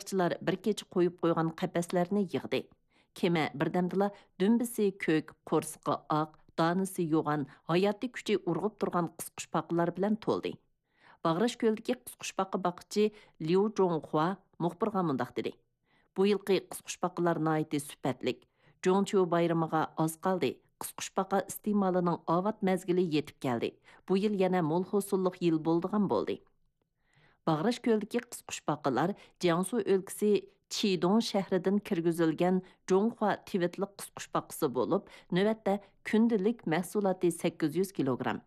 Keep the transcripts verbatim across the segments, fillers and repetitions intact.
تەتقىقاتچىلار بىر كېچە قويۇپ قويغان قەپەسلەرنى يىغدى. كېمە بىردەمدىلا دۈمبىسى كۆك، قورسىقى ئاق، دانىسى يوغان، ھاياتىي كۈچى ئۇرغۇپ تۇرغان قىسقۇچپاقىلار بىلەن تولدى. باغراش كۆلىدىكى قىسقۇچپاقا باققۇچى ليۇ جۇڭخۇا مۇخبىرغا مۇنداق دېدى: «بۇ يىلقى قىسقۇچپاقىلار ناھايىتى سۈپەتلىك. جۇڭچيۇ بايرىمىغا ئاز قالدى. قىسقۇچپاقا ئىستېمالىنىڭ ئاۋات مەزگىلى يېتىپ كەلدى. بۇ يىل يەنە مول ھوسۇللۇق يىل بولىدىغان بولدى.» باغراش كۆلىدىكى قىسقۇچپاقىلار جياڭسۇ ئۆلكىسى چىدۇڭ شەھىرىدىن كىرگۈزۈلگەن جۇڭخۇا تىۋىتلىق قىسقۇچپاقىسى بولۇپ، نۆۋەتتە كۈندىلىك مەھسۇلاتى سەككىز يۈز كىلوگرام.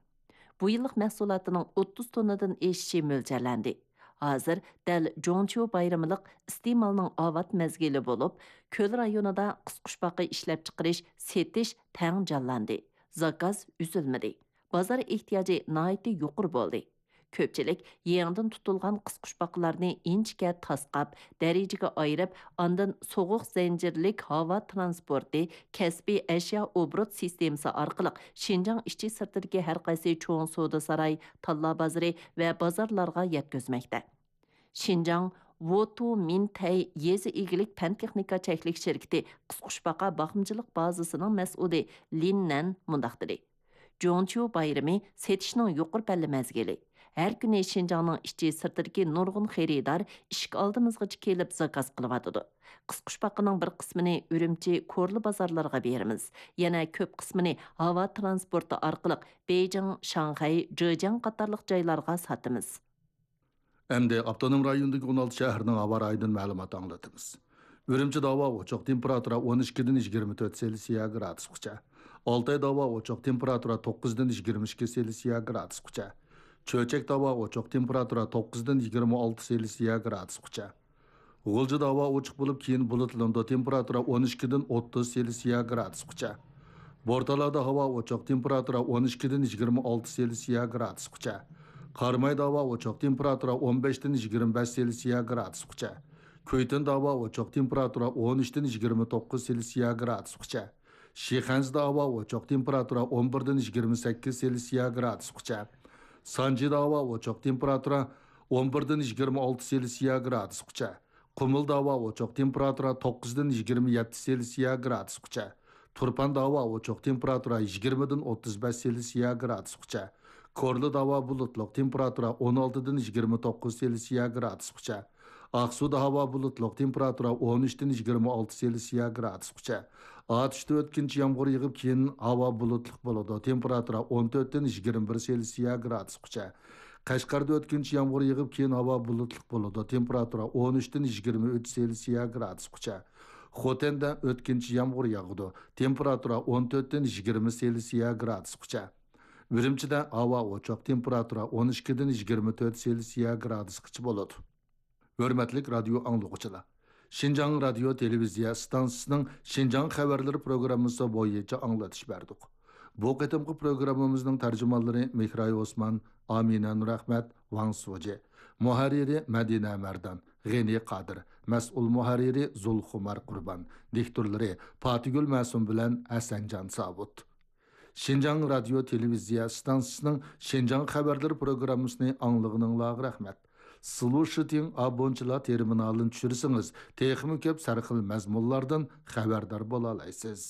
بۇ يىللىق مەھسۇلاتىنىڭ ئوتتۇز توننىدىن ئېشىشى مۆلچەرلەندى. ھازىر دەل جۇڭچيۇ بايرىملىق ئىستېمالنىڭ ئاۋات مەزگىلى بولۇپ، كۆل رايونىدا قىسقۇچپاقا ئىشلەپچىقىرىش، سېتىش تەڭ جانلاندى. زاكاز ئۈزۈلمىدى. بازار ئېھتىياجى ناھايىتى يۇقىرى بولدى. كۆپچىلىك يېڭىدىن تۇتۇلغان قىسقۇچپاقىلارنى ئىنچىكە تاسقاپ، دەرىجىگە ئايرىپ، ئاندىن سوغۇق زەنجىرلىك ھاۋا تىرانسپورتى، كەسپىي ئەشيا ئوبوروت سىستېمىسى ئارقىلىق شىنجاڭ ئىچى سىرتىدىكى ھەر قايسى چوڭ سودا ساراي، تاللا بازىرى ۋە بازارلارغا يەتكۈزمەكتە. شىنجاڭ ۋوتۇ مىنتەي يېزا ئىگىلىك پەن تېخنىكا چەكلىك شىركىتى قىسقۇچپاقا باقمىچىلىق بازىسىنىڭ مەسئۇلى لىن نەن مۇنداق دېدى: «جۇڭچيۇ بايرىمى سېتىشنىڭ يۇقىرى پەللە مەزگىلى. ھەر كۈنى شىنجاڭنىڭ ئىچى سىرتىدىكى نۇرغۇن خېرىدار ئىشىك ئالدىمىزغىچە كېلىپ زاكاز قىلىۋاتىدۇ. قىسقۇچپاقىنىڭ بىر قىسمىنى ئۈرۈمچى، كورلا بازارلىرىغا بېرىمىز. يەنە كۆپ قىسمىنى ھاۋا تىرانسپورتى ئارقىلىق بېيجىڭ، شاڭخەي، جېجياڭ قاتارلىق جايلارغا ساتىمىز.» ئەمدى ئاپتونوم رايوندىكى ئون ئالتە شەھەرنىڭ ھاۋا رايىدىن مەلۇمات ئاڭلىتىمىز. ئۈرۈمچىدە ھاۋا ئوچۇق، تېمپېراتۇرا ئون ئىككىدىن يىگىرمە تۆت سېلسىيە گرادۇسقىچە. ئالتايدا ھاۋا ئوچۇق، تېمپېراتۇرا توققۇزدىن يىگىرمە ئىككى سېلسىيە گرادۇسقىچە. چۆچەكتە ھاۋا ئوچۇق، تېمپېراتۇرا توققۇزدىن يىگىرمە ئالتە سېلسىيە گرادۇسقىچە. غۇلجىدا ھاۋا ئوچۇق بولۇپ، كېيىن بۇلۇتلىنىدۇ، تېمپېراتۇرا ئون ئىككىدىن ئوتتۇز سېلسىيە گرادۇسقىچە. بورتالادا ھاۋا ئوچۇق، تېمپېراتۇرا ئون ئىككىدىن يىگىرمە ئالتە سېلسىيە گرادۇسقىچە. قارامايدا ھاۋا ئوچۇق، تېمپېراتۇرا ئون بەشتىن يىگىرمە بەش سېلسىيە گرادۇسقىچە. كۈيتۇندا ھاۋا ئوچۇق، تېمپېراتۇرا ئون ئۈچتىن يىگىرمە توققۇز سېلسىيە گرادۇسقىچە. شىخەنزىدە ھاۋا ئوچۇق، تېمپېراتۇرا ئون بىردىن يىگىرمە سەككىز سېلسىيە گرادۇسقىچە. سانجىدا ھاۋا ئوچۇق، تېمپېراتۇرا ئون بىردىن يىگىرمە ئالتە سېلسىيە گرادۇسقىچە. قۇمۇلدا ھاۋا ئوچۇق، تېمپېراتۇرا توققۇزدىن يىگىرمە يەتتە سېلسىيە گرادۇسقىچە. تۇرپاندا ھاۋا ئوچۇق، تېمپېراتۇرا يىگىرمىدىن ئوتتۇز بەش سېلسىيە گرادۇسقىچە. كورلىدا ھاۋا بۇلۇتلۇق، تېمپېراتۇرا ئون ئالتىدىن يىگىرمە توققۇز سېلسىيە گرادۇسقىچە. ئاقسۇدا ھاۋا بۇلۇتلۇق، تېمپېراتۇرا ئون ئۈچتىن يىگىرمە ئالتە سېلسىيە گرادۇسقىچە. ئاتۇشتا ئۆتكۈنچى يامغۇر يېغىپ، كېيىن ھاۋا بۇلۇتلۇق بولىدۇ، تېمپېراتۇرا ئون تۆتتىن يىگىرمە بىر سېلسىيە گرادۇسقىچە. قەشقەردە ئۆتكۈنچى يامغۇر يېغىپ، كېيىن ھاۋا بۇلۇتلۇق بولىدۇ، تېمپېراتۇرا ئون ئۈچتىن يىگىرمە ئۈچ سېلسىيە گرادۇسقىچە. خوتەندە ئۆتكۈنچى يامغۇر ياغىدۇ، تېمپېراتۇرا ئون تۆتتىن يىگىرمە سېلسىيە گرادۇسقىچە. ئۈرۈمچىدە ھاۋا ئوچۇق، تېمپېراتۇرا ئون ئىككىدىن يىگىرمە تۆت سېلسىيە گرادۇسقىچە بولىدۇ. ھۆرمەتلىك رادىيو ئاڭلىغۇچىلار! شىنجاڭ رادىيو تېلېۋىزىيە ئىستانسىسىنىڭ شىنجاڭ خەۋەرلىرى پروگراممىسى بويىچە ئاڭلىتىش بەردۇق. بۇ قېتىمقى پروگراممىمىزنىڭ تەرجىمانلىرى مېھراي ئوسمان، ئامىنە نۇرئەخمەت، ۋاڭ سۇجى. مۇھەررىرى مەدىنە مەردان، غېنى قادىر. مەسئۇل مۇھەررىرى زۇلخۇمار قۇربان. دىكتورلىرى پاتىگۈل مەسۇم بىلەن ھەسەنجان ساۋۇت. شىنجاڭ رادىيو تېلېۋىزىيە ئىستانسىسىنىڭ شىنجاڭ خەۋەرلىرى پروگراممىسىنى ئاڭلىغىنىڭلارغا رەھمەت. سلۇشىتىڭ ئابونچىلار تېرمىنالىنى چۈشۈرسىڭىز، تېخىمۇ كۆپ سەرخىل مەزمۇنلاردىن خەۋەردار بولالايسىز.